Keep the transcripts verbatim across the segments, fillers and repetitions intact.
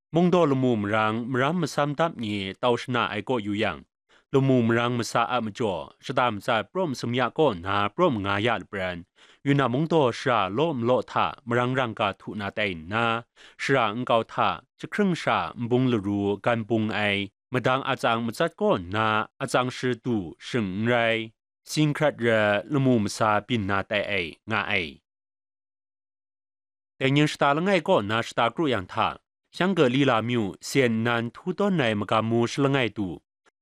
Mungdaw lamu marang maram masam dap ni tau shana ai kaw yu yang, lamu marang masa a majaw, shata matsat praw masum ya kaw nna praw manga ya lapran, Yunnan mungdaw shara law malaw hta marang rangga htu na tai nna, shara nkau hta jahkring sha nbung laru gan bung ai, madang atsang matsat kaw nna atsang shadu shing n rai, singhkrat ra lamu masa byin na tai ai, nga ai. Dai ning shata langai kaw na shata kru yang hta, Shanggeli lamyu sen nnan htu tawn ai magam mu shalangai du,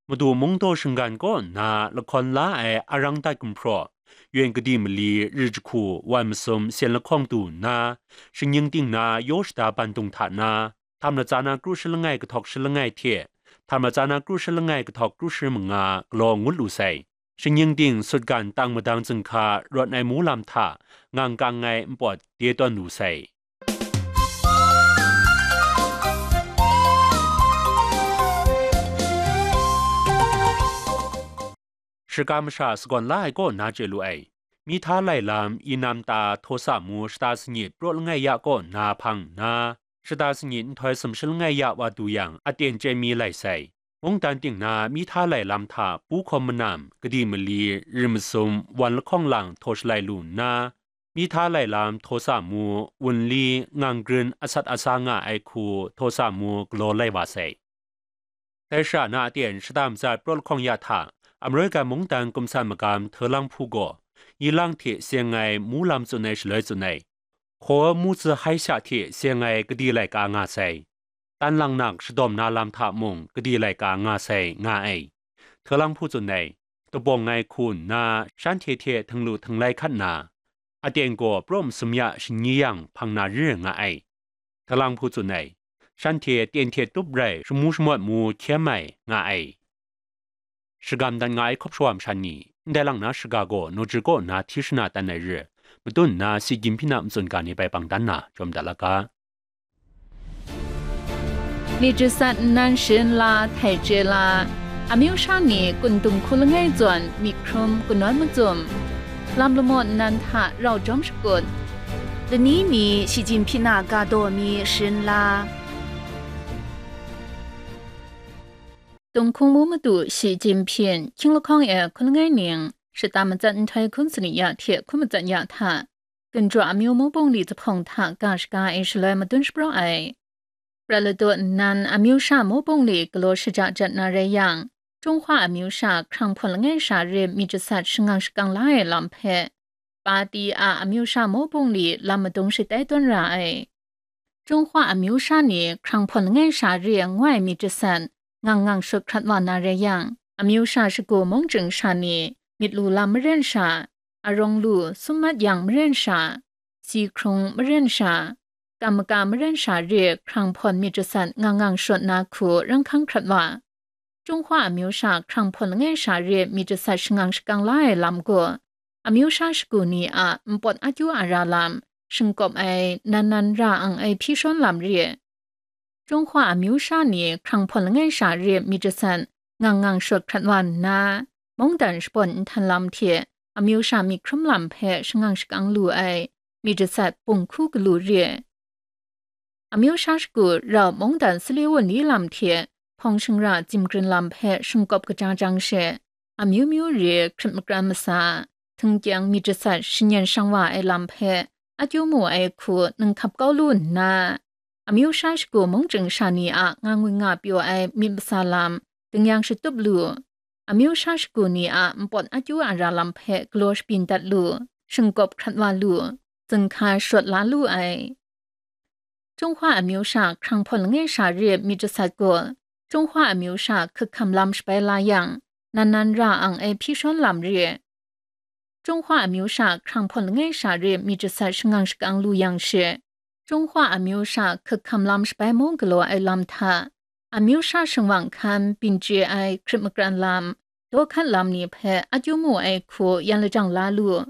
Madu mungdaw shinggan kaw nna lahkawn la ai arang dat gumhpraw, yen kadi mali ri jahku wan masum sen lahkawng du nna, shingning ting na yaw shada bandung hta na, htam latsa na kru shalangai kahtawk shalangai hte, htam latsa na kru shalangai kahtawk kru shi manga galaw ngut lu sai. Shingning ting sutgan tang madang zinghka rawt ai mu lam hta ngang kang ai npawt de tawn lu sai. Shaka masha sagawn la ai kaw na chye lu ai. Mihta lai lam, Inam ta, Htosa mu shata sangit praw langai ya kaw na hpang nna, shata sangit nhtoi sumshi langai ya wa du yang, aten chye mi lai sai. Mungdan ting na mihta lai lam hta pu hkawm manam, kadi mali, ri masum, wan lahkawng lang htaw shalai lu nna, mihta lai lam Htosa mu, Wunli, Ngang Grin asat asa nga ai hku Htosa mu galaw lai wa sai. Dai shara na aten shata matsat praw lahkawng ya hta, Amrawai Gan mungdan kumsan magam Hte Lang Hpu gaw, yi lang hte seng ai mu lam tsun ai shaloi tsun ai, Hkaw mu tsi hai sha hte seng ai kadi laika nga sai, tan lang nak shadawm na lam hta mung kadi laika nga sai, nga ai. Hte Lang Hpu tsun ai, dabawng ai hku nna shanhte hte htinglu htinglai hkat nna, aten gaw praw masum ya shingyi yang hpang na ri nga ai. Hte Lang Hpu tsun ai, shanhte ten hte tup rai shamu shamawt mu hkyem ai, nga ai. Shagam dat nga ai hkawp shawa masha ni, ndai lang na shaga gaw Naw Chyu kaw na hti shana tan ai re, madun nna si gyim hpyi na matsun ga ni bai bang dan na jawm dat la ga. Myit jasat nnan sharin la, htai chye la, amyu sha ni kun dung hku langai zawn myit hkrum kanawn macum, lam lamaw nnan hta rau jawm shakut, lani mi shi jin hpyi na ga daw mi sharin la. Tung hkung mu madu shi jin hpyin, hkying lahkawng e hku langai ning, shata matsat nhtoi hkun sani ya hte hku matsat ya hta, gun jaw amyu mu bungli zahpawng hta ga shaga ai shaloi madun shapraw ai. Prat ladaw nnan amyu sha mu bungli galaw shaja jat na rai yang, Jinghwa amyu sha hkrang hpawn langai sha re myit jasat shangang shakang la ai lam hpe, Pati a amyu sha mu bungli lam madung shatai tawn ra ai. Jinghwa amyu sha ni hkrang hpawn langai sha re ngu ai myit jasat ngang ngang shut hkrat wa na rai yang, amyu sha shagu mung chying sha ni myit lu lam maren sha, arawng lu sum mat yang maren sha, si hkrung maren sha, kam maka maren sha re hkrang hpawn myit jasat ngang ngang shut na hku rang hkang hkrat wa. Jinghwa amyu sha hkrang hpawn langai sha re myit jasat shangang shakang la ai lam gaw, amyu sha shagu ni a npawt akyu ara lam, shingkawp ai nan nan ra ang ai hpyi shawn lam re. Jinghwa amyu sha ni hkrang hpawn langai sha re myit jasat ngang ngang shut hkrat wa nna, mungdan shabawn nhtan lam hte amyu sha myit hkrum lam hpe shangang shakang lu ai myit jasat bung hku galu re. Amyu sha shagu rau mungdan sali wunli lam hte hpawng shingra tsim grin lam hpe shingkawp kaja jang she, amyu myu re hkrit makran masa, htingkyang myit jasat shanyan shang wa ai lam hpe akyu mu ai hku ninghkap kau lu nna, amyu sha shagu mung chying sha ni a nga ngwi nga pyaw ai myit masa lam, dingyang shatup lu, amyu sha shagu ni a npawt akyu ara lam hpe galaw shabyin dat lu, shingkawp hkrat wa lu, zinghka shawt la lu ai. Jinghwa amyu sha hkrang hpawn langai sha re myit jasat gaw, Jinghwa amyu sha hkak hkam lam shabai la yang, nan nan ra ang ai hpyi shawn lam re. Jinghwa amyu sha hkrang hpawn langai sha re myit jasat shangang shakang lu yang she, Jinghwa amyu sha hkak hkam lam shabai mu galaw ai lam hta, amyu sha shingwang hkan byin chye ai hkrit makran lam, daw hkat lam ni hpe akyu mu ai hku yan lajang la lu.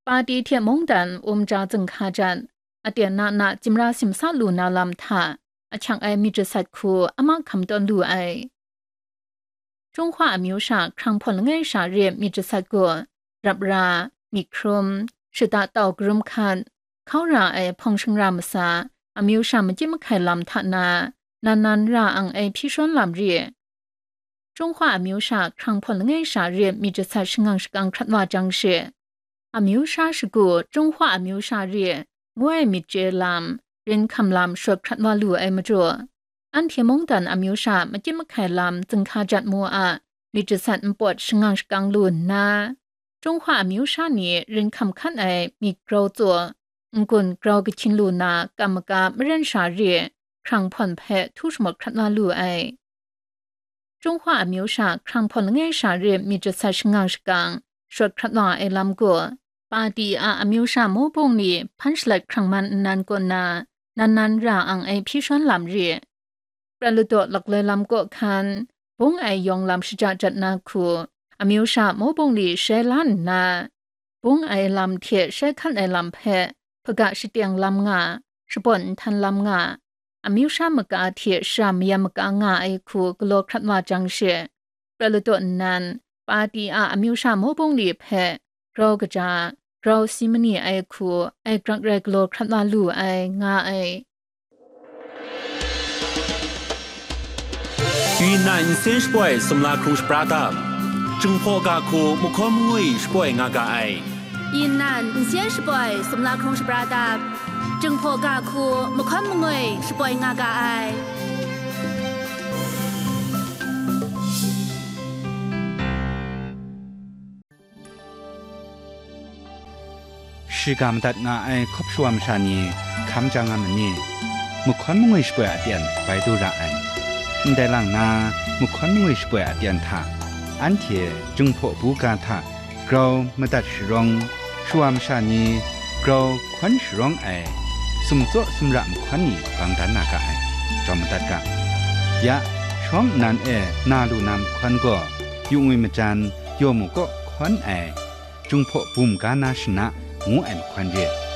Pati hte mungdan um ja zinghka jan, aten na na tsimra simsa lu na lam hta, ahkyak ai myit jasat hku a mahkam tawn lu ai. Jinghwa amyu sha hkrang hpawn langai sha re myit jasat gaw, rap ra, myit hkrum, shata tau karum hkat, hkau ra ai hpawng shingra masa, amyu sha makyit mahkai lam hta na, nan nan ra ang ai hpyi shawn lam ri. Chyunghwa amyu sha hkrang hpawn langai sha re myit jasat shangang shakang hkrat wa jang she, amyu sha shagu Chyunghwa amyu sha re ngu ai myit chye lam, rin hkam lam shawt hkrat wa lu ai majaw, anhte mungdan amyu sha makyit mahkai lam zinghka jat mu a myit jasat npawt shangang shakang lu nna, Chyunghwa amyu sha ni rin hkam hkan ai myit grau tsaw, n-gun grau kahkyin lu na kam maga maren sha re hkrang hpawn hpe htu shamawt hkrat wa lu ai. Chyunghwa amyu sha hkrang hpawn langai sha re myit jasat shangang shakang shawt hkrat wa ai lam gaw, Pati a amyu sha mawbung ni hpan shalat hkrang man nnan kaw na, nan nan ra ang ai hpyi shawn lam re. Prat ladaw lakloi lam kaw hkan, bung ai yawng lam shaja jat na hku, amyu sha mawbung ni shai la nna, bung ai lam hte shai hkan ai lam hpe hpaga shateng lam nga, shabawn nhtan lam nga, amyu sha maga hte shara mayam maga nga ai hku galaw hkrat wa jang she, prat ladaw nnan, Pati a amyu sha mawbung ni hpe grau kaja, grau si mani ai hku ai grak rai galaw hkrat wa lu ai, nga ai. Yunnan nsen shapoi sumla hkrung shapra dap, Jinghpaw ga hku mahkawn mangwi shapoi nga ga ai. Yunnan nsen shapoi sumla hkrung shapra dap, Jinghpaw ga hku mahkawn mangwi shapoi nga ga ai. Shiga madat nga ai hkawp shawa masha ni hkam ja nga ma ni? Mahkawn mangwi shapoi a pyan bai du ra ai. Ndai lang na, mahkawn mangwi shapoi a pyan hta, anhte Jinghpaw bu ga hta grau madat sharawng, shawa masha ni grau hkawn sharawng ai sumtsaw sumra mahkawn ni bang dan na ga ai, jawm madat ga. Ya, shawng nnan e na lu na mahkawn gaw, yu ngwi majan, yaw mu kaw hkawn ai, Jinghpaw bum ga na shana ngu ai mahkawn re.